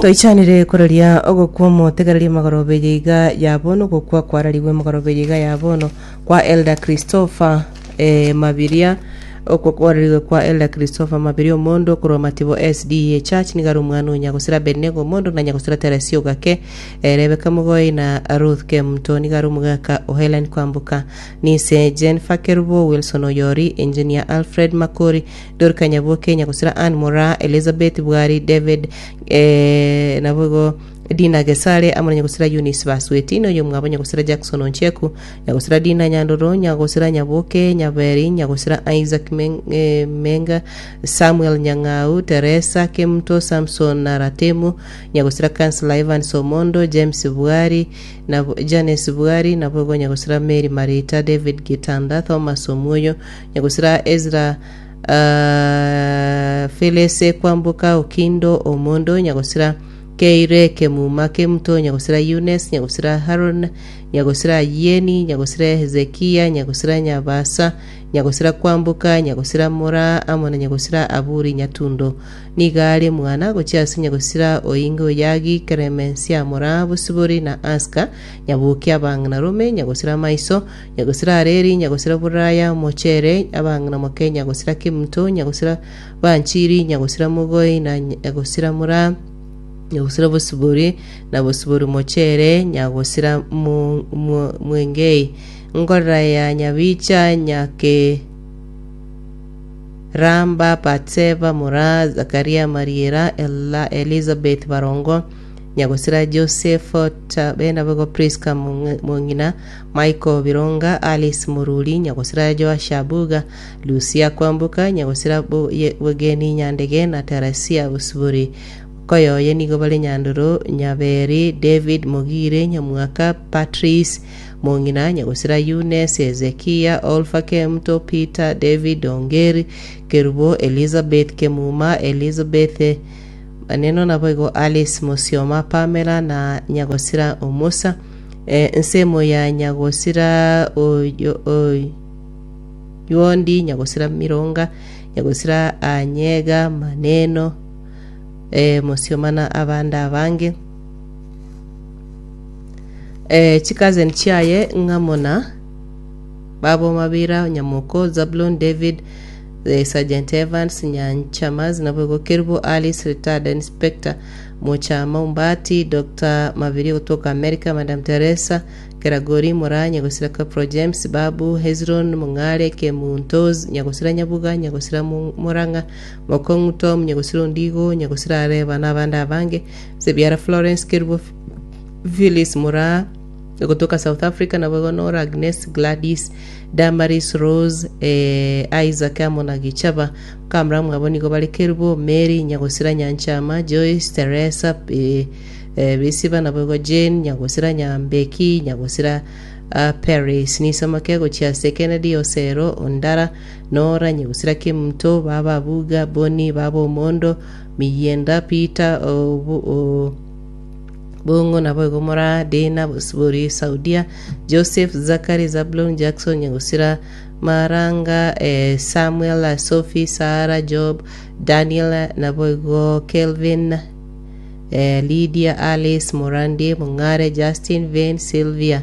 Toichanire koraria ogokwa omotegereria magoroba eye iga ya bono gokwa kwararigwe magoroba eye iga ya bono kwa Elder Christopher eh, Mabiria okwo kwararigwe kwa Elder Christopher Mabiria Omondo korwa Matibo SDA Church nigo are omwana o Nyagosira Abednego Omondo na Nyagosira Teresia Ogake eh, Rebecca Mogoi na Ruth Kemunto nigo are omogaka o Helen Kwamboka Nise Jennifer Kerubo Wilson Oyori Engineer Alfred Makori Dorika Nyaboke, Nyagosira Ann Moraa, Elizabeth Bwari, David eh, naboigo Dina Gesare amo na Nyagosira Eunice Basweti, na oyomwabo Nyagosira Jackson Oncheku, Nyagosira Dina Nyandoro, Nyagosira Nyaboke, Nyaberi, Nyagosira Isaac Meng, eh, Menga, Samuel Nyang'au, Teresa Kemuto, Samson na Ratemu, Nyagosira Councillor Evans Omondo, James Bwari, nabo Janes Bwari, naboigo Nyagosira Mary Marita, David Gitanda, Thomas Omuoyo, Nyagosira Ezra uh, Felese Kwamboka Okindo Omondo Nyagosira Keire Kemuma Kemuto Nyagosira Eunice Nyagosira Haron Nyagosira Yeni Nyagosira Hezekia Nyagosira Nyabasa Nyagosira Kwamboka Nyagosira Mora amo na Nyagosira Aburi Nyatundo Nigo are mwana gochia ase Nyagosira Oinge Oyagi Keremensia Mora Bosibori na Aska Nyaboki Abang'ina Rome Nyagosira Maiso Nyagosira Areri, nyagosira Buraya, Omochere, abang'ina moke, nyagosira Kemunto, nyagosira Banchiri, nyagosira Mogoi, na nyagosira Mura, nyagosira Bosibori, na Bosibori Mochere, nyagosira Mwengei. Ngorera ya Nyabicha, Nyakeramba, Batseba, Mura, Zakaria, Mariera, Ella, Elizabeth, Barongo, Nyagosira Joseph, Tabenabogo, Priska, Mong'ina, Michael Bironga, Alice Mururi, Nyagosira Joash Abuga, Lucia Kwamboka, Nyagosira Bogeni Nyandege na Teresia Bosibori. Koyoye nigo bare Nyandoro, Nyaberi, David Mogire, Nyamwaka, Patrice Mong'ina, Nyagosira Eunice, Hezekia, Olpha Kemuto, Peter, David Ongeri, Kerubo, Elizabeth Kemuma, Elizabeth Maneno naboigo Alice Mosioma, Pamela na Nyagosira Omusa. Ensemo ya nyagosira oyondi, nyagosira mironga, nyagosira anyega, maneno, mosioma na abande abange. Chicousin chiaye ng'amo na baba Omabira, Nyamoko, Zablon, David, Sergeant Evans, Nyanchamas, naboigo Kerubo, Alice, retired inspector, Mochama Ombati, Doctor Mabiri ogotoka America, Madam Teresa, Keragori, Moraa, Nyagosira Corporal James, Babu, Hezron, Mong'are, Kemuntos, Nyagosira Nyabuga, Nyagosira Morang'a, Mokong'u Tom, Nyagosira Ondigo, Nyagosira Areba na abande abange, Sebiara Florence, Kerubo Phyllis Moraa, ogotoka South Africa, naboigo Nora, Agnes, Gladys, Damaris, Rose, eh, Isaac amo na Gichaba. Kamura mwabo nigo bare Kerubo, Mary, Nyagosira Nyanchama, Joyce, Teresa, eh, eh, Bisiba, naboigo Jane, Nyagosira Nyambeki, Nyagosira ah, Paris. Nisamake gochia ase Kennedy, Osero, Ondara, Nora, Nyagosira Kemunto, Baba Abuga, Bonny, Baba Omondo, Miyienda, Peter, Obu, o, Bong'o naboigo Moraa, Dina, Bosibori, Saudia, Joseph, Zachary, Zabulon, Jackson, Nyagosira, Maranga, eh, Samuel, Sophie, Sarah, Job, Daniel, naboigo Kelvin, eh, Lydia, Alice, Morandi, Mong'are, Justin, Vane, Sylvia,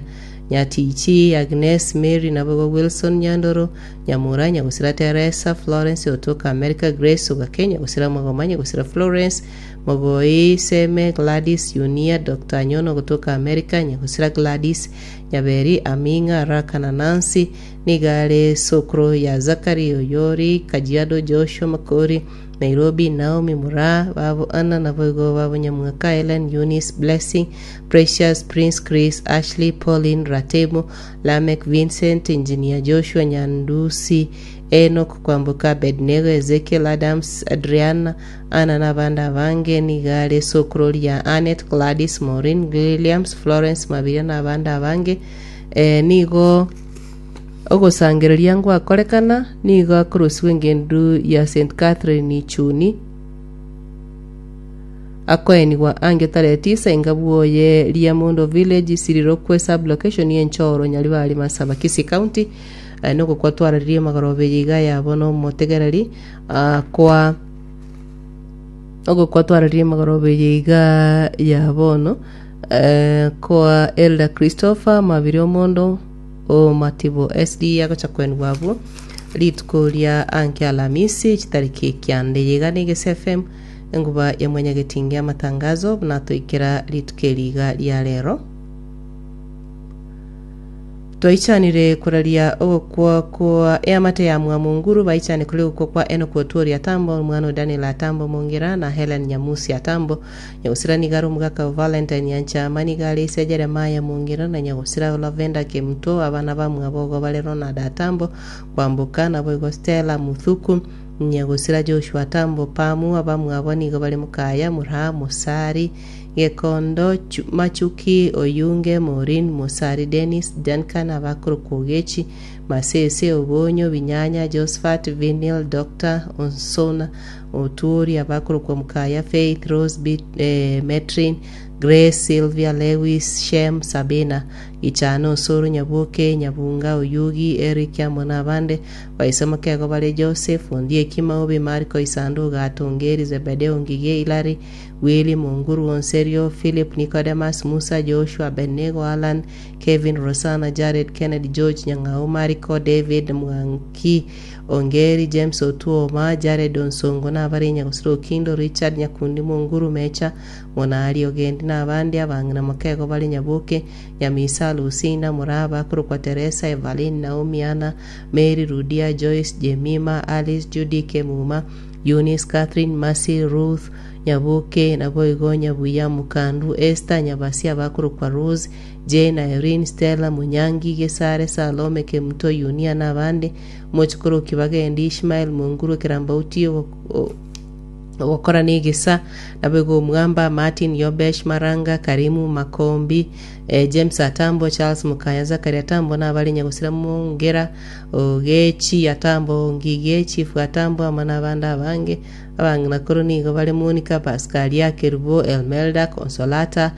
Nyatichi, Agnes, Mary, naboigo Wilson, Nyandoro, Nyamura, Nyagosira Teresa, Florence, otoka America, Grace, Ogake, Nyagosira Magoma, Nyagosira Florence, Mogoi, Seme, Gladys, Yunia, Doctor Anyono gotoka America, Nyagosira Gladys, Nyaberi, Aming'a, Raka na Nancy, nigo are sokoro ya Zachary, Oyori, Kajiado, Joshua, Makori, Nairobi, Naomi, Moraa, babo Anna, naboigo babo Nyamwaka, Ellen, Eunice, Blessing, Precious, Prince, Chris, Ashley, Pauline, Ratemo, Lameck, Vincent, Engineer Joshua, Nyandusi, Enock, Kwamboka, Abednego, Ezekiel, Adams, Adriana, Anna na abande abange nigo are esokoro ria Annette, Gladys, Maureen, Williams, Florence, Mabiria na abande abange. Eh, nigo ogosangereria ngwakorekana nigo akorusigwa engendu ya St. Catherine Ichuni akoenigwa ange tarehe tisa inga bwoye Riamondo Village Sirirokwe sub-location y'Enchoro Nyaribari Masaba Kisii County eh, nogokwa twararirie magoroba eye iga yabo nomotegereri ah, kwa. Ogokwa twararie amagoroba eye iga ya bono eh, koa Elder Christopher Mabiri Omondo o Matibo SD agocha kwenigwa abwo rituko ria anke Alamisi chitariki ekianda. Eye iga ne Egese FM enguba ya Mwanyagetinge amatangazo buna toikera rituko eri iga ria rero. Twaichanire koraria ogokwa kwa eamate ya Mwamunguru, baichane koria ogokwa kwa Enock Otwori Atambo, omwana o Daniel Atambo Mongera, na Hellen Nyamusi Atambo. Nyagosira nigo are omogaka o Valentine Nyanchama, nigo are ise Jeremiah Mongera na nyagosira o Lavender Kemuto, abana bamwabo igo bare Ronald Atambo, Kwamboka, naboigo Stella Muthuku, nyagosira Joshua Atambo Pamu, abamwabo nigo bare Mokaya, Muraha, Mosari, Gekondo, Machuki, Oyunge, Maureen, Mosari, Dennis, Duncan, abakorokwa Ogechi, Masese, Obonyo, Binyanya, Josphat, Vinil, Doctor, Onsona, Otuori, abakorokwa Mukaya, Faith, Rose, Bit, eh, Metrin, Grace, Sylvia, Lewis, Shem, Sabina, Gichana, Osoro, Nyaboke, Nyabunga, Oyugi, Eric, amo nabande. Baise mokego bare Joseph, Ondieki, Maobi, Mariko, Isando, Ogato, Ongeri, Zebedeo, Ngige, Hilary, Willy, Monguru, Onserio, Philip, Nicodemus, Musa, Joshua, Abednego, Allan, Kevin, Rosanna, Jared, Kennedy, George, Nyang'au, Mariko, David, Mwanki, Ongeri, James Otuoma, Jared Onsongo, na abare Nyagosira Okindo, Richard, Nyakundi, Monguru, Mecha, Monari, Ogendi, na abande abang'ina mokego bare Nyaboke, Nyamisa, Lucinda, Muraba, korokwa Teresa, Evaline, Naomi, Anna, Mary, Rudia, Joyce, Jemima, Alice, Judy, Kemuma, Eunice, Catherine, Mercy, Ruth, Nyaboke, naboigo Nyabuya, Mukandu, Esther, Nyabasia abakorokwa Rose, Jane, Irene, Stella, Munyangi, Gesare, Salome, Kemuto, Yunia, na abande, Mochikoroki bagendi, Ishmael, Monguru, Ekerambauti, ogokora negesa, naboigo Omwamba, Martin, Yobesh, Maranga, Karimu, Makombi, eh, James Atambo, Charles Mukaya, Zachary Atambo, na abare Nyagosira Mongera, Ogechi Atambo, Ngige, Chief Atambo, amo nabande abange. Abang'ina korwa nigo bare Monica, Pascalia, Kerubo, Elmelda, Consolata,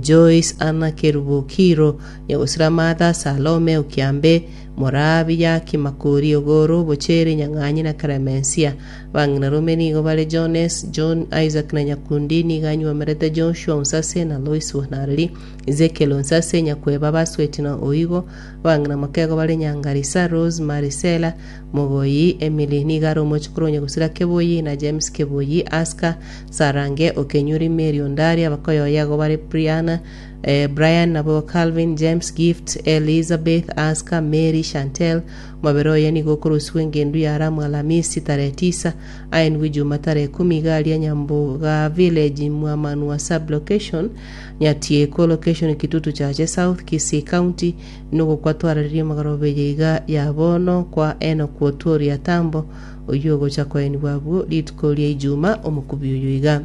Joyce, Anna, Kerubo, Kiro, Nyagosira Martha, Salome, Okiambe, Morabi, Yaki, Makori, Ogoro, Bochere, Nyang'anyi na Clemencia. Abang'ina rome nigo bare Jones, John, Isaac na Nyakundi, nigo anyuomerete Joshua Onsase na Lois Wanareri, Ezekiel Onsase, Nyakweba, Basweti na Oigo. Abang'ina mokego bare Nyangarisa, Rose, Marisela, Mogoyi, Emily, nigo are omochokoro o Nyagusira Keboyi, na James Keboyi, Aska, Sarange, Okenyuri, Mary Ondari, abakoyoye igo bare Briana, Brian, nabo Calvin, James, Gift, Elizabeth, Aska, Mary, Chantel. Omobere oye nigo okorusigwa engendu ya Ramu Alamisi tarehe tisa, aenigwe Ijuma tarehe ikomi iga aria Nyamboga Village, Mwamanua Sub-location, Nyatieko Location, Kitutu Chache South, Kisii County, Nogokwa twararirie amagoroba eye iga ya bono kwa Enoku Otwori Atambo, oyio ogocha koenigwa abwo rituko ria Ijuma omokubi oyo iga.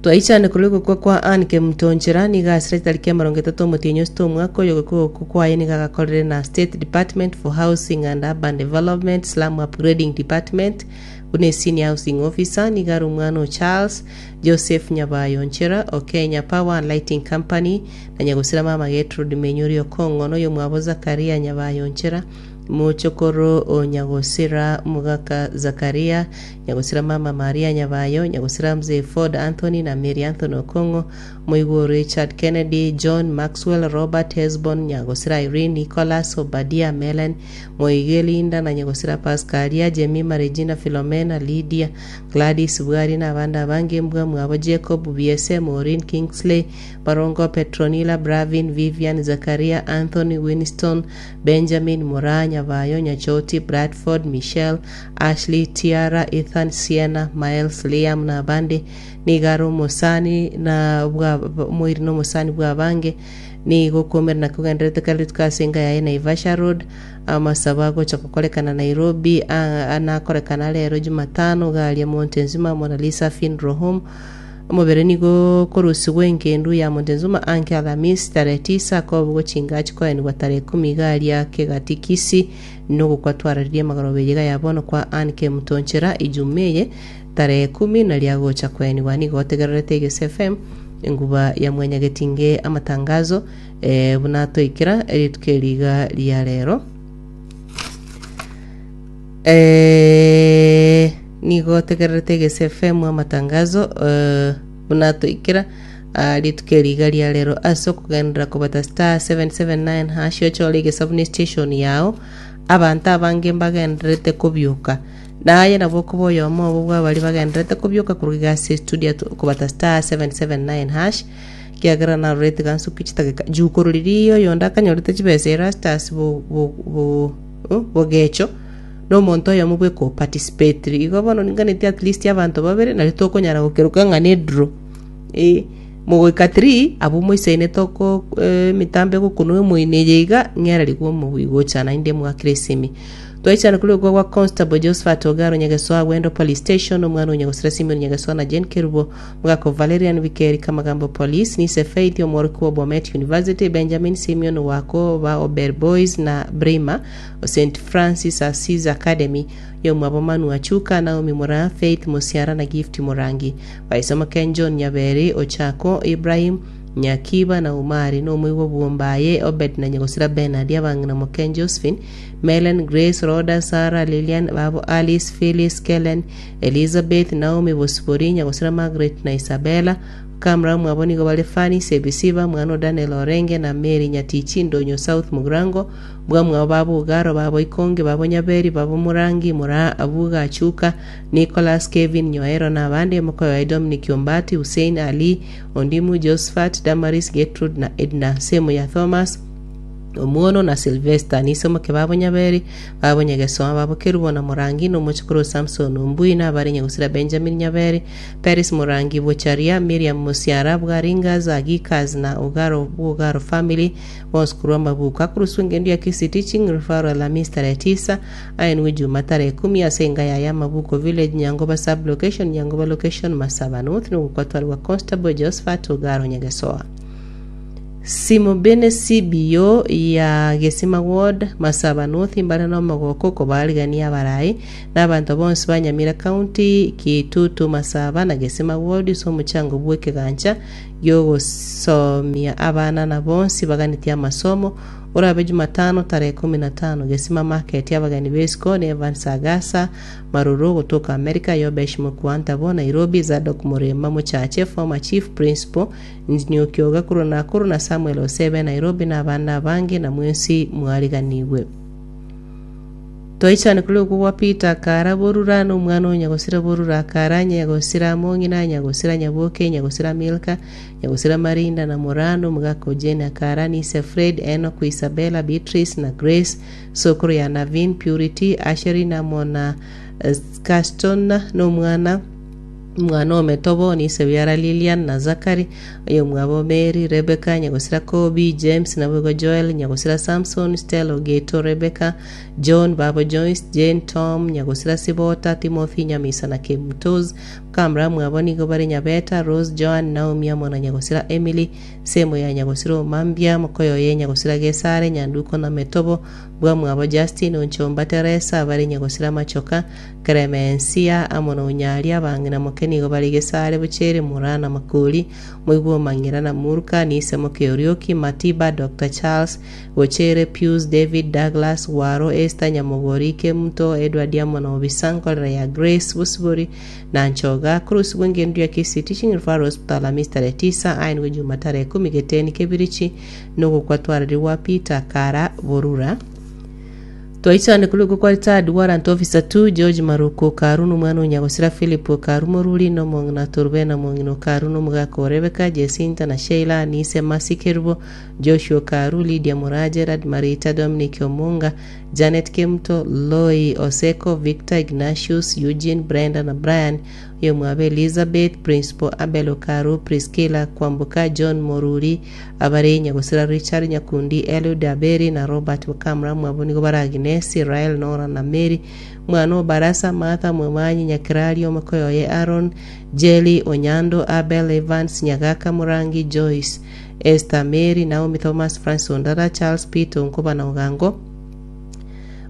Twaichane korwa ogokwa kwa Ann Kemunto Nchera nigo asire chitariki emerongo etato omotienyi osito omwaka oyo ogokwa ogokwa kwaye nigo agakorire na State Department for Housing and Urban Development Slum Upgrading Department buna Senior Housing Officer nigo are omwana o Charles Joseph Nyabayo Nchera o Kenya Power and Lighting Company Na nyagosira mama Gertrude Menyori Okong'o, na oyomwabo Zakaria Nyabayo Nchera, mochokoro o nyagosira mogaka Zakaria, nyagosira mama Maria Nyabayo, nyagosira mzee Ford Anthony na Mary Anthony Okong'o, moigwa o Richard Kennedy, John Maxwell, Robert Hesbon, nyagosira Irene, Nicholas, Obadia, Melen, Moige, Linda, na nyagosira Pascalia, Jemima, Regina, Philomena, Lydia, Gladys, Bwari, na abande abange, mbwa mwabo Jacob, Biese, Maureen, Kingsley, Barongo, Petronila, Bravin, Vivian, Zakaria, Anthony, Winston, Benjamin, Moraa, Nyabayo, Nyachoti, Bradford, Michelle, Ashley, Tiara, Ethan, Sienna, Miles, Liam na abande. Nigo are omosani na bwa omoiri na omosani bw'abange. Nigo okomerana kogendererete kera rituko ase enka yaye Naivasha Road. Amasabo agocha gokorekana Nairobi a nakorekana rero Jumatano iga aria Montezuma, Mona Lisa Funeral Home. Omobere nigo okorusigwa engendu ya Montezuma anke Alamisi tarehe tisa, akobugwa chingachi koenigwa tarehe ikomi iga aria kegati Kisii, nogokwa twararirie amagoroba eye iga ya bono kwa Ann Kemuto Nchera Ijumaa eye tarehe ikomi naria agocha koenigwa. Nigo otegererete Egese FM enguba ya mwanyagetinge amatangazo eh, buna atoikera rituko eri iga ria rero. Eh, Nigo otegererete Egese FM amatangazo eh, buna toikera ah, rituko eri iga ria rero ase okogenderera kobata star 779 hash ochore egesabu ne station yao abanto abange mbagendererete kobioka naye nabo okoba oyomo obo bwa baria bagendererete kobioka korwa iga ase studio kobata star 779 hash Ekiagera narorete gansuki chitageka juko riria oyonde akanyorete chibesa Erastus bo, bo, bo, oh, bogecho nomonto oyomo bweka oparticipatire. Igo bono ninganeti at least abanto babere nario tokonyara gokeroka ng'a ne draw. Eh, mogoika three abwo moisaine toko eh, emitambo egokunwa emoino eye iga ng'ererigwe omobui gocha naende mwakire esimi. Twaichana korwa okwa gwa Constable Josephat Ogaro Nyagesoa Gwendo Police Station, omwana o Nyagosira Simeon Nyagesoa na Jane Kerubo Mogaka Valerian Bikeri Kamagambo Police, Nise Faith omworokigwa o Bomet University, Benjamin Simeon Wako ba Ober Boys na Bremer o St Francis Assisi Academy, Yomwabo Manu Achuka, Naomi Moraa, Faith Musiara na Gift Murangi. Baisomo Ken John Nyaberi, Ochako, Ibrahim, Nyakiba na Umari, nomoigwa bw'Ombaye, Obed na Nyagosira Bernard, abang'ina Moken Josephine, Melen, Grace, Rhoda, Sarah, Lilian, babo Alice, Phyllis, Kellen, Elizabeth, Naomi, Bosibori, Nyagosira Margaret na Isabella. Bakamura mwabo nigo bare Fanny, Sebisiba, mwana o Daniel Orenge, na Mary Nyatichi, Ndonyo South Mugirango, bwamwabo babo Ogaro, babo Ikonge, babo Nyaberi, babo Murangi, Moraa, Abuga, Achuka, Nicholas, Kevin, Nyoero na abande, mokoyo oye Dominic Ombati, Hussein, Ali, Ondimu, Josephat, Damaris, Getrude na Edna. Semo ya Thomas, Omuono na Silvesta, nisomoke babo Nyaberi, babo Nyagesoa, babo Kerubo na Morangi, na omochokoro o Samson Ombui, na abare Nyagusira Benjamin Nyaberi, Peris Morangi Bocharia, Miriam Mosiara, Bwaringas, Agikas na Ogaro bw'Ogaro Family, bonsi korwa amabuko akoroswa engendu ya Kisii Teaching Referral Alhamisi tarehe tisa, aenwe Juma tarehe ikomi ase enga yaye Amabuko Village, Nyangoba Sub-Location, Nyangoba Location, Masaba North, nogokwa Constable Josephat Ogaro Nyagesoa. Simobene CBO ya Gesima Ward, Masaba North mbare nomogoko kobaarigania abarai na abanto bonsi ba Nyamira County, Kitutu Masaba na Gesima Ward ase omochango bw'ekegancha giogosomia abana na bonsi baganetie amasomo orabe Jumatano tarehe 15 Gesima Market abageni b'esiko ne Evans Agasa Maruru gotoka America Yobesh Mukwantabo Nairobi Zadok Murima Mochache former Chief Principal Nzinioki Ogakuru Nakuru na Samuel Osebe Nairobi na abande abange na mwensi mwariganigwe. Twaichane korwa okwo gwa Peter akara borura na omwana o nyagosira borura akara nyagosira mong'ina nyagosira nyaboke nyagosira Milka nyagosira Marinda na Moraa na omogaka o Jane akara Nise Fred Enock Isabella Beatrice na Grace sokoro ya Navin Purity Asherin amo na Caston na omwana Omwana o Metobo nise biara Lilian na Zachary, oyomwabo Mary, Rebecca, nyagosira Kobi, James, naboigo Joel, nyagosira Samson, Stella Ogeto, Rebecca, John, babo Joyce, Jane, Tom, nyagosira Sibota, Timothy, Nyamisa na Kemutos. Bakamura mwabo nigo bare Nyabeta, Rose, Joan, Naomi amo na nyagosira Emily, nsemo ya nyagosira Omambia, mokoyoye nyagosira Gesare, Nyanduko na Metobo, bwamwabo Justin, Onchomba, Teresa, abare nyagosira Machoka, Klemensia amo na Onyaria abang'ina moke nigo bare Gesare, Bochere, Moraa na Makori, Moigwa Omang'ira na Murka, Nise moke Orioki, Matiba, Doctor Charles, Bochere, Pius, David, Douglas, Waro, Esther, Nyamogori, Kemunto, Edward amo na Obisa, Nkorera ya Grace, Bosibori, na Nchoga, Korosibwa engendu ya Kisii Teaching Referral Hospital Alhamisi tarehe tisa, aenigwe Juma tarehe ikomi Geteni Kebirichi, nogokwa twararigwa Peter Kara Borura. Twaichane korwa okwo kwa Retired Warrant Officer 2 George Maruku Okaru na omwana o Nyagosira Philip Okaru Moruri na omong'ina Torubena omong'ina Okaru na omogaka o Rebecca, Jesinta na Sheila, Nise Mercy Kerubo, Joshua Okaru, Lydia Moraa, Gerard Marita, Dominic Omunga, Janet Kemuto, Loi Oseko, Victor, Ignatius, Eugene, Brenda na Brian, oyomwabo Elizabeth, Principal Abel Okaru, Priscilla Kwamboka, John Moruri, Abare nyagosira Richard Nyakundi, Eliud Aberi, na Robert Wakamura mwabo nigo bare Agnesi, Rael, Nora na Mary, mwana o Barasa, Martha, Mwemanyi, Nyakerario, omokoyo oye Aaron, Jelly, Onyando, Abel, Evans, Nyagaka, Murangi, Joyce, Esther, Mary, Naomi, Thomas, Francis Ondara, Charles, Peter, Onkoba na Ogango.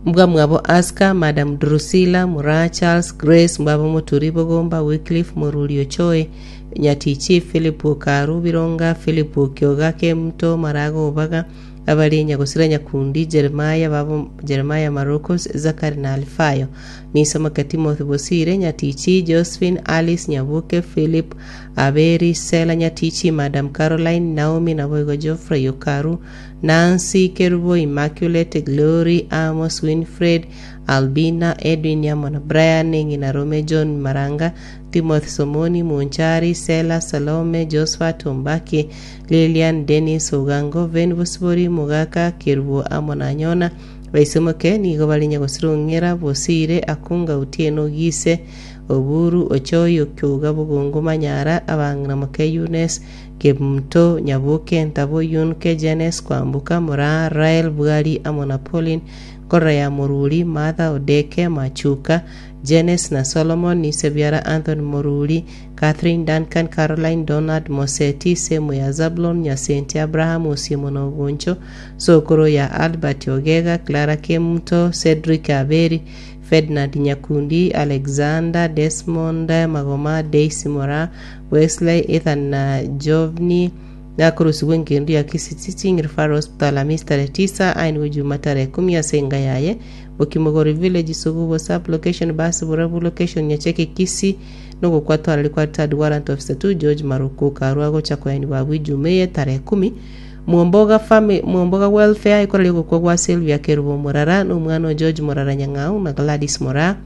Mbwa mwabo Aska, Madam Drusilla, Moraa, Charles, Grace, mbwabo Moturi, Bogomba, Wycliffe, Moruri, Ochoe, Nyatichi, Philip Okaru, Bironga, Philip Okioga, Kemuto, Marago, Obaga, Abare nyagosira Nyakundi, Jeremiah, babo Jeremiah Marokos, Zakari na Alifayo. Nisomoke Timothy Bosire, Nyatichi, Josephine, Alice, Nyabuke, Philip, Aberi, Sela Nyatichi, Madam Caroline, Naomi, naboigo Geoffrey Okaru, Nancy, Kerubo, Immaculate, Glory, Amos, Winfred, Albina, Edwin amo na Brian, ng'ina Rome, John Maranga, Timothy Somoni, Monchari, Sela, Salome, Josphat, Ombaki, Lilian, Dennis, Ogango, Ven Bosibori, Mogaka, Kerubo amo na Nyona. Baisemoke nigo bare nyagosira ong'era, Bosire, Akunga, Otieno, Gise, Oburu, Ochoi, Okioga, Bogongo, Manyara, abang'ina moke Eunice, Kemunto, Nyaboke, Ntabo, Yunke, Jenes, Kwamboka, Moraa, Rael, Bwari amo na Pauline, Nkorora ya Moruri, Martha, Odeke, Machuka, Jenes na Solomon, ise biara Anthony Moruri, Catherine, Duncan, Caroline, Donald, Moseti, Semu ya Zabulon, Nyasenti, Abraham, Osiemo na Ogoncho, Sokoro ya Albert Ogega, Clara Kemunto, Cedric Aberi, Ferdinand Nyakundi, Alexander, Desmond, Magoma, Daisy Moraa, Wesley, Ethan na Jovni, Nakorusigwe engendu ya Kisii Teaching Referral Hospital Hamisi tarehe tisa ainwe Juma tarehe kumi ase enga yaye Bokimogori Village Sugubo Sub Location Basi Burabu Location Nyacheke Kisii nogokwa twarari kwa Retired Warrant Officer 2 George Maruku karwa gocha koenigwa abwo Ijuma eye tarehe kumi Mwomboga Fami Mwomboga Welfare ekorari ogokwa gwa Sylvia Kerubo Morara na omwana o George Morara Nyang'au na Gladys Moraa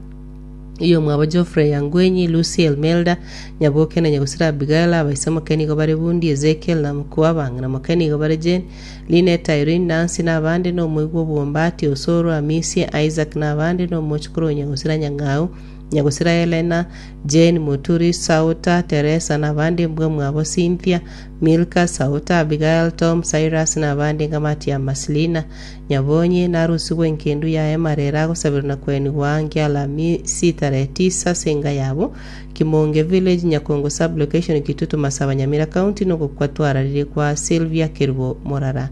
Oyomwabo Geoffrey Yangwenyi, Lucy Elmelda, Nyaboke na Nyagusira Abigail, abaise moke nigo bare Bundi, Ezekiel na Mokua, abang'ina moke nigo bare Jane, Linet, Irene, Nancy na abande, na omoigwa obwombati, Osoro, Amisi, Isaac na abande, na omochokoro o Nyagusira Nyang'au, Nyagusira Helena, Jane, Muturi, Sauta, Teresa na abande, mbwa mwabo Cynthia, Milka, Sauta, Abigail, Tom, Cyrus na abande, ngamati ya Maslina, Nyabonyi narusigwe engendu yaye marere agosabirwa na kwenigwa ange Alamisi tarehe tisa ase enga yabo, Kimonge Village, Nyakongo Sub-location, Kitutu Masaba, Nyamira County nogokwa twararire kwa Sylvia Kerubo Morara.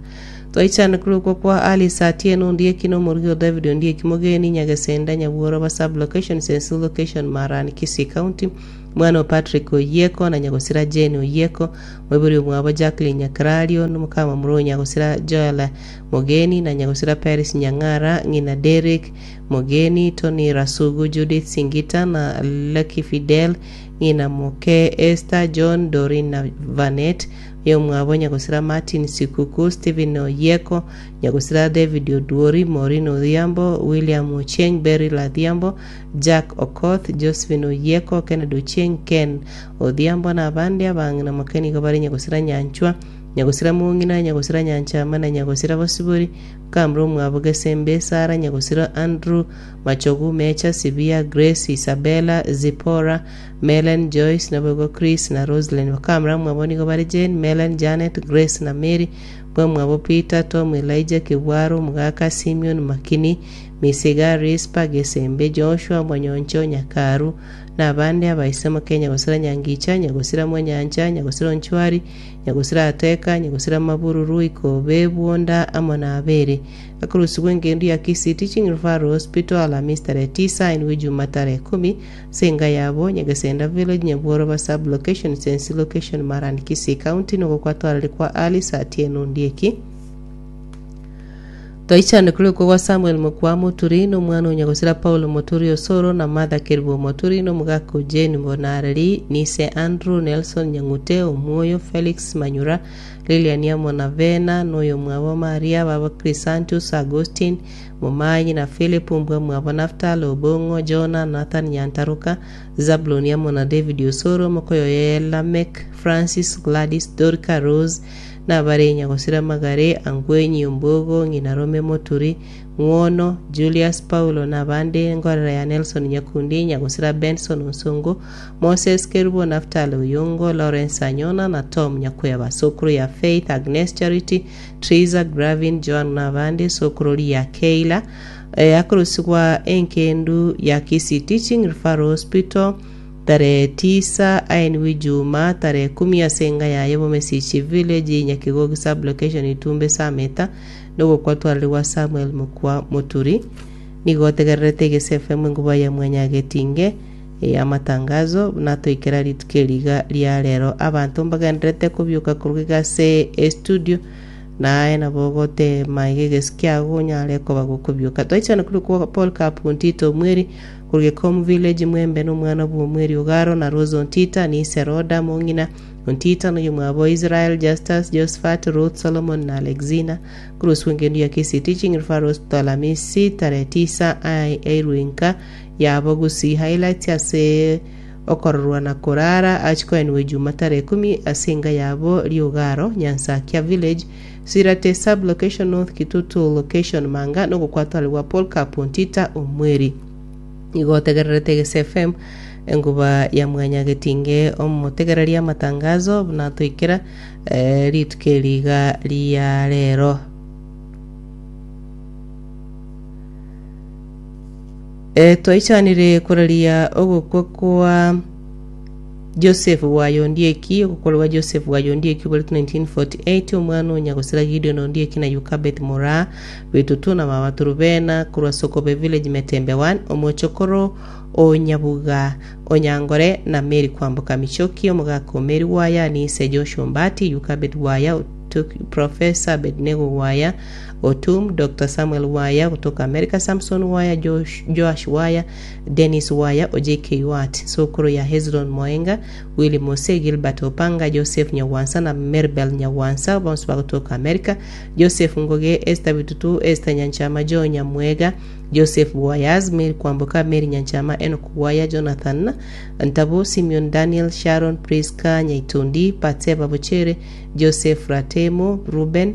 Twaichane korokwa kwa Alice Atieno Ondieki na omorugi o David Ondieki Mogeni, Nyagesenda, Nyabworoba Sub-location, Sensil Location, Marani, Kisii County, Mwana o Patrick Oyieko na nyagosira Jane Oyieko, moibori omwabo Jacqueline Nyakerario, na omokamamura o nyagosira Joel Mogeni na nyagosira Peris Nyang'ara, ng'ina Derrick Mogeni, Tony Rasugu, Judith Singita na Lucky Fidel, ng'ina moke Esther, John, Doreen na Vanet, oyomwabo nyagosira Martin Sikuku, Stephen Oyieko, nyagosira David Oduori, Maureen Odhiambo, William Ochieng, Beryl Adhiambo, Jack Okoth, Josephine Oyieko, Kennedy Ochieng, Ken Odhiambo na abande abang'ina moke nigo bare nyagosira Nyanchwa, Nyagosira Mong'ina, Nyagosira Nyanchama na Nyagosira Bosibori, Kamra omwabo Gesembe, Sara, Nyagosira Andrew, Machogu, Mecha, Sibia, Grace, Isabella, Zipporah, Melen, Joyce, naboigo Chris na Roselyn. Bakamura mwabo nigo bare Jane, Melen, Janet, Grace na Mary, bwamwabo Peter, Tom, Elijah, Kibwaro, Omogaka, Simeon, Makini, Misiga, Rispa, Gesembe, Joshua, Monyoncho, Nyakaru, na abande abaise moke Nyagosira Nyangicha, Nyagosira Mwanyancha, Nyagosira Onchwari, Nyagosira Ateka, Nyagosira Mabururu, Ikobe, Bwonda, amo na Abere. Akorusigwa engendu ya Kisii Teaching Referral Hospital Alamisi tarehe tisa inwe Juma tarehe kumi ase enga yabo Nyagesenda Village, Nyabworoba Sub Location, Sensi Location, Marani, Kisii County, nogokwa twarari kwa Alice Atieno Ondieki. Twaichane korokwa gwa Samuel mokwa Moturi, na omwana o nyagosira Paulo Moturi Osoro, na Martha Kerubo Moturi, na omogaka o Jane Bonareri, Nise Andrew, Nelson Nyang'ute, Omwoyo, Felix Manyura, Lilian amo na Vena, na oyomwabo Maria, baba Chrysantus, Agustine, Momanyi, na Philip, mbwa mwabo Naftali, Obong'o, Jona, Nathan Nyantaruka, Zabuloni amo na David Osoro, mokoyoye Lameck, Francis, Gladys, Dorca, Rose, Nabare nyagosira magare, Angwenyi, Ombogo, ng'ina Rome Moturi, Ng'wono, Julius, Paulo na abande, Ngorera ya Nelson Nyakundi, nyagosira Benson Onsongo, Moses Kerubo, Naftali Oyongo, Lawrence Anyona na Tom Nyakweba, Sokoro ya Faith, Agnes Charity, Triza, Gravin, Joan na abande, Sokorori ya Keila, akorusigwa enkendu ya Kisii Teaching Referral Hospital, Tarehe tisa aenigwe Ijuma tarehe kumi ase enga yaye Bomesichi Village, Nyakigogi Sub-location, Itumbe Sameta, nogokwa twararigwa Samuel Mokwa Moturi. Nigo otegererete Egese FM enguba ya Mwanyagetinge ey'amatangazo buna toikera rituko eri iga ria rero. Abanto mbagendererete kobioka korwa iga ase estudio. Naye nabo ogoteema iga egesu kiago onyare koba gokobioka. Twaichana korwa kwa Paul Kapu Ontita Omweri, korwa Gekomu Village, Mwembe na omwana bw'Omweri Ogaro, na Rose Ontita, Nise Roda, Mong'ina Ontita, na oyomwabo Israel, Justus, Josephat, Ruth, Solomon na Alexina, korwa ase engendu ya Kisii Teaching Referral Hospital Alamisi tarehe tisa airwe inka yabo Gusii Highlights ase Okororwa na korara achie koenigwa Ijuma tarehe ikomi ase enka yabo Riogaro, Nyansakia Village, Sirate Sub-location North Kitutu Location Manga nogokwatwarigwa Paul Kapu Ntita Omweri. Nigo otegererete Egese FM enguba ya mwanyagetinge omotegereria amatangazo buna toikera eh, rituko eri iga ria rero. Twaichanire koraria ogokwa kwa Joseph bwaye Ondieki, ogokwa gwa Joseph bwaye Ondieki oboretwe 1948, omwana o Nyagosira Gideon Ondieki na Yukabeth Moraa, Bitutu na mama Turubena korwa Sokobe Village Metembe 1, omochokoro o Nyabuga Onyangore na Mary Kwamboka Michoki, omogaka o Mary Gwaya, Anise Joshua Ombati, Yukabeth Gwaya, Professor Abednego Gwaya, Otum, Doctor Samuel Waya gotoka America, Samson Waya, Josh, Joash Waya, Dennis Waya o JK Watt, sokoro ya Hezron Moenga, Willy Mose, Gilbert Opanga, Joseph Nyagwansa na Meribel Nyagwansa bonsi bagotoka America, Joseph Ngoge, Esther Bitutu, Esther Nyanchama, Joe Nyamwega, Joseph Wayaz, Mary Kwamboka, Mary Nyanchama, Enoch Waya, Jonathan Ntabu, Simeon Daniel, Sharon Priska Nyaitundi, Batseba Bochere, Joseph Ratemo, Ruben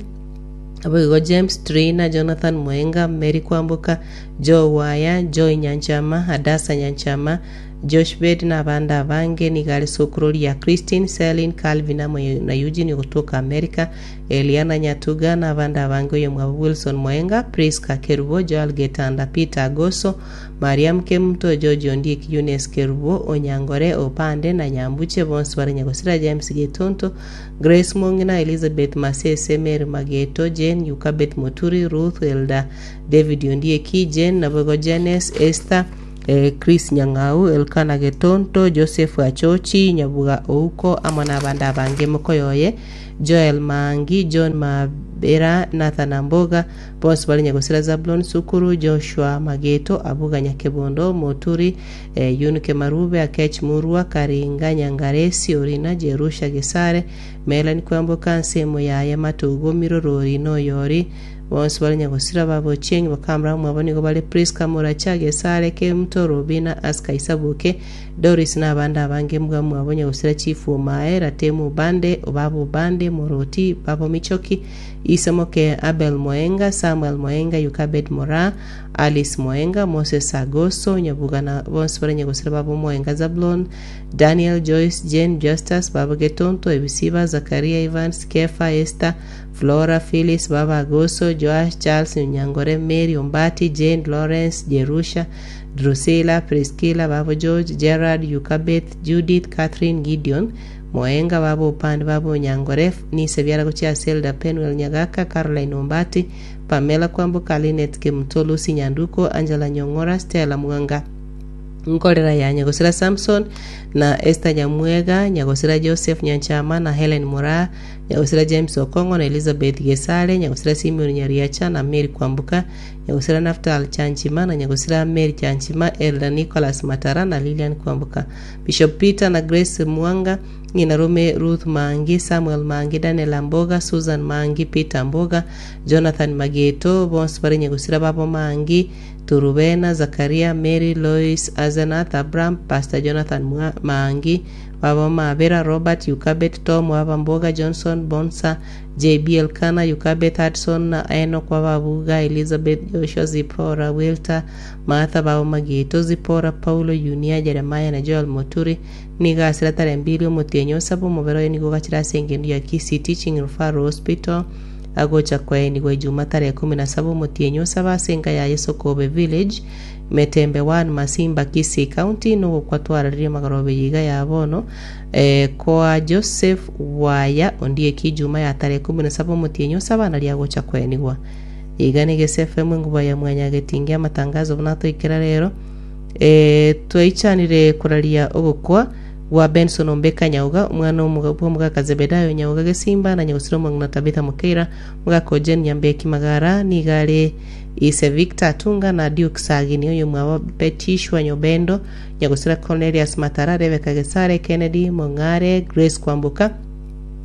Naboigo James, Trina, Jonathan Mwenga, Mary Kwamboka, Joe Waya, Joy Nyanchama, Hadasa Nyanchama, Joshbed na abande abange. Nigo are sokoro ria Christine, Celine, Calvin amo na Eugene ogotoka America, Eliana Nyatuga na abande abange oyomwabo Wilson Mwenga, Prisca Kerubo, Joel Getanda, Peter Agoso, Mariam Kemunto, George Ondieki, Eunice Kerubo, Onyangore, Opande na Nyambuche bonsi bare Nyagosira James Getonto, Grace Mong'ina, Elizabeth Masese, Mary Mageto, Jane Yukabeth Moturi, Ruth Elda, David Ondieki, Jane naboigo Janes, Esther, eh, Chris Nyang'au, Elkana Getonto, Joseph Achochi, Nyabuga Ouko, amo nabande abange mokoyoye, Joel Maangi, John Mabera, Nathan Amboga, bonsi bare Nyagosira Zablon Sukuru, Joshua Mageto, Abuga Nyakebondo, Moturi, eh, Yunike Marube, Akech Murua, Karinga Nyangaresi, Orina, Jerusha Gesare, Melanie Kwamboka, nsemo yaye Matogo, Mirorori, na Oyori, bonsi bare Nyagosira babo Ochieng, bakamura omwabo nigo bare Prisca Moracha, Gesare, Kemuto, Robina, Aska Isaboke, Doris na abande abange mbwa mwabo Nyagosira Chief Omae, Ratemu Obande, Obaba Obande, Moroti, Babo Michoki, Ise moke Abel Moenga, Samuel Moenga, Yukabed Moraa, Alice Moenga, Moses Agoso, Nyabuga na bonsi bare nyagosira babo Moenga Zablon, Daniel, Joyce, Jane, Justus, babo Getonto, Ebisiba, Zakaria, Evans, Kefa, Esther, Flora, Phyllis, babo Agoso, Joash, Charles, Onyangore, Mary, Ombati, Jane, Lawrence, Jerusha, Drusilla, Priscilla, babo George, Gerard, Yukabeth, Judith, Catherine, Gideon, Moenga, babo Opande, babo Onyangore, Nise biara gochia ase Elder Penuel Nyagaka, Caroline Ombati, Pamela Kwamboka, Linet Kemuto, Lucy Nyanduko, Angela Nyong'ora, Stella Mwanga, Nkorera ya Nyagosira Samson, na Esther Nyamwega, Nyagosira Joseph Nyanchama, na Helen Moraa, Nyagosira James Okong'o, na Elizabeth Gesare, Nyagosira Simeon Nyariacha, na Mary Kwamboka, Nyagosira Naftal Chanchima, na Nyagosira Mary Chanchima, Elder Nicholas Matara, na Lilian Kwamboka, Bishop Peter na Grace Mwanga, Ng'ina Rome Ruth Maangi, Samuel Maangi, Daniel Amboga, Susan Maangi, Peter Amboga, Jonathan Mageto, bonsi bare nyagosira babo Maangi, Turubena, Zakaria, Mary, Lois, Azenath, Abraham, Pastor Jonathan Maangi, babo Mabera, Robert, Yukabet, Tom, Waba Mboga, Johnson, Bonsa, JB, Elkana, Yukabeth, Hudson, na Enoch, Wababuga, Elizabeth, Joshua, Zipporah, Wilter, Martha, babo Mageto, Zipporah, Paulo, Yunia, Jeremiah, na Joel Moturi, Nigo ase ratarembirie omotienyi o saba omobere oye nigo ogachire ase engendu ya Kisii Teaching Referral Hospital agocha koenigwa Ijuma tarehe kumi na saba omotienyi o saba ase enka yaye Sokobe Village, Metembe 1, Masimba, Kisii County nogokwa twararirie magoroba eye iga ya bono koa Joseph Waya Ondieki Ijuma ya tarehe kumi na saba omotienyi o saba nario agocha koenigwa. Iga ne Gese FM enguba ya mwanyagetinge amatangazo buna atoikera rero. Ee, twaichanire koraria ogokwa. Gwa Benson Ombeka Nyauga, omwana bw'omogaka Zebedayo Nyauga Gesimba, na nyagosira omong'ina Tabitha Mokeira, omogaka o Jane Nyambeki Magara, nigo are ise Victor Atunga na Duke Sagini, oyomwabo Betishua Nyobendo, nyagosira Cornelius Matara, Rebecca Gesare, Kennedy Mong'are, Grace Kwamboka,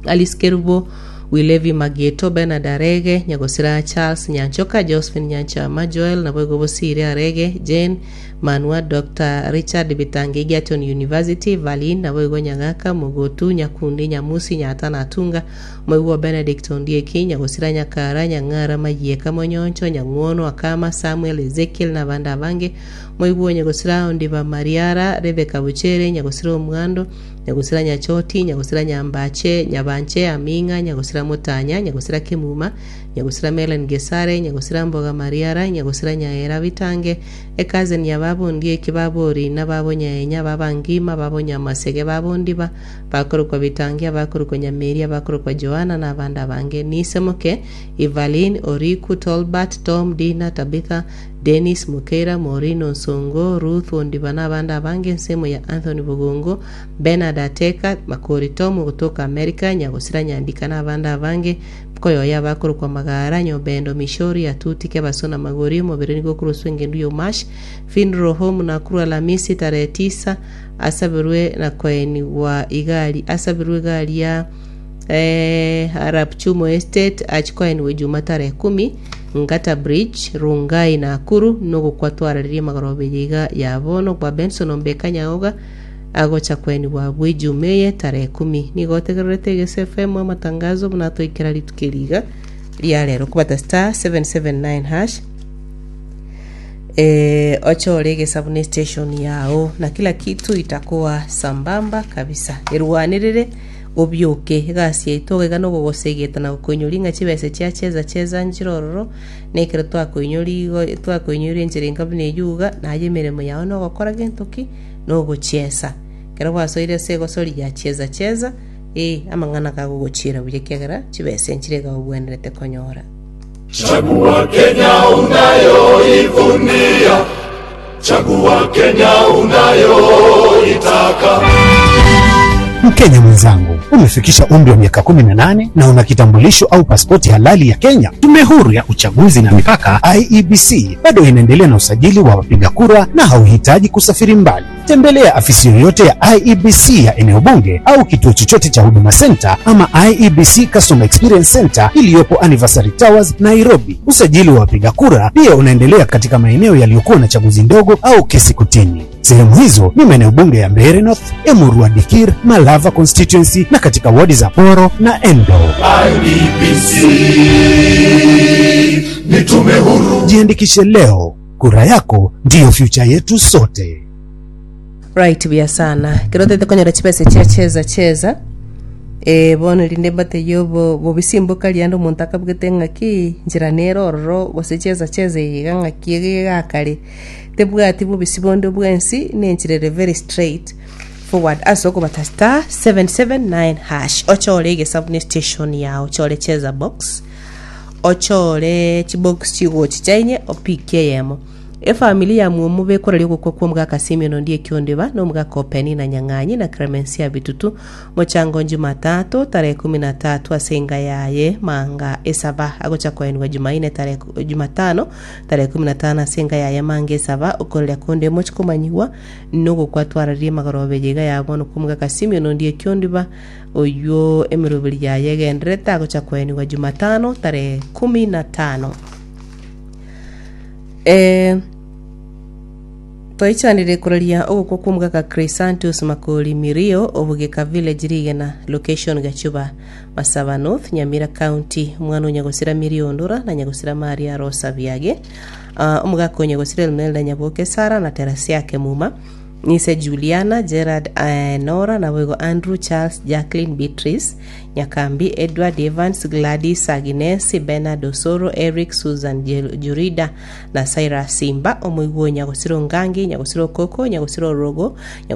Alice Kerubo, Wilevi Magieto, Bernard Arege, nyagosira Charles Nyanchoka, Josephine Nyanchama, Joel, naboigo Bosire Arege, Jane Manua, Doctor Richard Bitange, Egerton University, Valin, naboigo Nyagaka, Mogotu, Nyakundi, Nyamusi, Nyata na Atunga, Moigwa Benedict Ondieki, Nyagosira Nyakara, Nyang'ara, Mayieka, Monyoncho, Nyang'wono, Akama, Samuel, Ezekiel, na abande abange, Moigwa Nyagosira Ondiba Mariara, Rebecca Bochere, Nyagosira Omwando, Nyagosira Nyachoti, Nyagosira Nyambache, Nyabanche, Aming'a, Nyagosira Motanya, Nyagosira Kemuma, Nyagosira Melen Gesare, Nyagosira Mboga Mariara, Nyagosira Nyaera Bitange, Ecousin ya baba Ondieki, baba Orina, baba Onyaenya, baba Ngima, baba Onyamasege, baba Ondiba, bakorokwa Bitange, abakorokwa Nyameri, abakorokwa Joana, na abande abange. Nise moke, Evaline, Oriku, Tolbert, Tom, Dina, Tabitha, Dennis, Mokeira, Maureen, Onsongo, Ruth, Ondiba, na abande abange, ensemo ya Anthony Bogongo, Bernard Ateka, Makori Tom ogotoka America, Nyagosira Nyandika, na abande abange, Koyoyo abakorokwa Magara, Nyobendo, Mishori, Atuti, Kebaso, na Magori, omobere nigo okoroswa engendu y'Omash, Funeral Home, Nakuru Alamisi tarehe tisa, asaberwe na koenigwa igari asaberwe egari ya eh, Arap Chumo Estate achi koenigwa Ijuma tarehe kumi, Ngata Bridge, Rongai, Nakuru, nogokwa twararirie magoroba eye iga ya bono gwa Benson Ombeka Nyaoga agocha koenigwa abwo Ijuma eye tarehe kumi. Nigo otegererete Egese FM amatangazo buna atoikera rituko eri iga ria rero kobata star 779 hash eh, ochore egesabu ne station yao na kila kitu itakuwa sambamba kabisa erwanerere obioke egasi yaito iga nogogosegeta na gokoinyori ng'a chibese chia cheza cheza nchire ororo na ekero twakoinyori igo twakoinyoria enchera enka buna eywo iga naye emeremo yao nogokora gento ki nogochiesa ekero gwasoire ase egosori ya cheza cheza eh amang'ana kagogochiera buya ekiagera chibese nchire iga obwenerete konyora. Chagua Kenya unayoivunia, chagua Kenya unayoitaka. Mkenya mwenzangu, umefikisha umri wa miaka 18 na una kitambulisho au pasipoti halali ya Kenya. Tume Huru ya Uchaguzi na Mipaka IEBC bado inaendelea na usajili wa wapiga kura na hauhitaji kusafiri mbali. Tembelea afisi yoyote ya IEBC ya eneo bunge au kituo chochote cha Huduma Center ama IEBC Customer Experience Center iliyopo Anniversary Towers, Nairobi. Usajili wa wapiga kura pia unaendelea katika maeneo yaliyokuwa na chaguzi ndogo au kesi kotini. Sehemu hizo ni maeneo bunge ya Mbeere North, Emurua Dikirr, Malava constituency na katika wadi za Poro na Endo. IEBC ni tume huru. Jiandikishe leo, kura yako ndiyo future yetu sote. Right buya sana. Ekero otagete konyora chibesa chia cheza cheza, eh, bono rinde mbatebie obo bobisimboka riande omonto akabugete ng'aki nchera nere ororo gose cheza cheza eye iga ng'aki ege egakare tebwati bobisi bonde bwensi na enchera ere very straight forward ase okobata star 779 hash ochore egesabu ne station yao ochore cheza box ochore chibox chigochicha inye opikie eyemo Efamiri ya mwomo bekoraria ogokwa kw'omogaka Simeon onde ekiondeba, na omogaka o Penina Nyang'anyi, na Clemencia Bitutu, mochango Jumatatu tarehe kumi na tatu ase enga yaye Manga Esaba agocha koenigwa Jumaine tarehe Jumatano tarehe kumi na tano ase enga yaye Manga Esaba okoreria konde mochi komanyigwa nogokwa twararie magoroba eye iga ya bono kw'omogaka Simeon onde ekiondeba oyio emeroberi yaye egendererete agocha koenigwa Jumatano tarehe kumi na tano. Ee, twaichanire koraria ogokwa kw'omogaka Chrysantus Makori Mirio o Bugeka Village Rigena, location Gachuba, Masaba North, Nyamira County, omwana o Nyagosira Mirio Ondura na Nyagosira Maria Rosa Biage, Ah, omogaka o Nyagosira Elmelda Nyaboke Sara na Terasia Kemuma, Nise Juliana, Gerard, Nora, naboigo Andrew, Charles, Jacqueline, Beatrice, Nyakambi, Edward, Evans, Gladys, Agnes, Bernard, Osoro, Eric, Susan, Jurida, na Cyrus Simba, omoigwa o Nyagosira Ongangi, Nyagosira Okoko, Nyagosira Orogo, Nyagosira.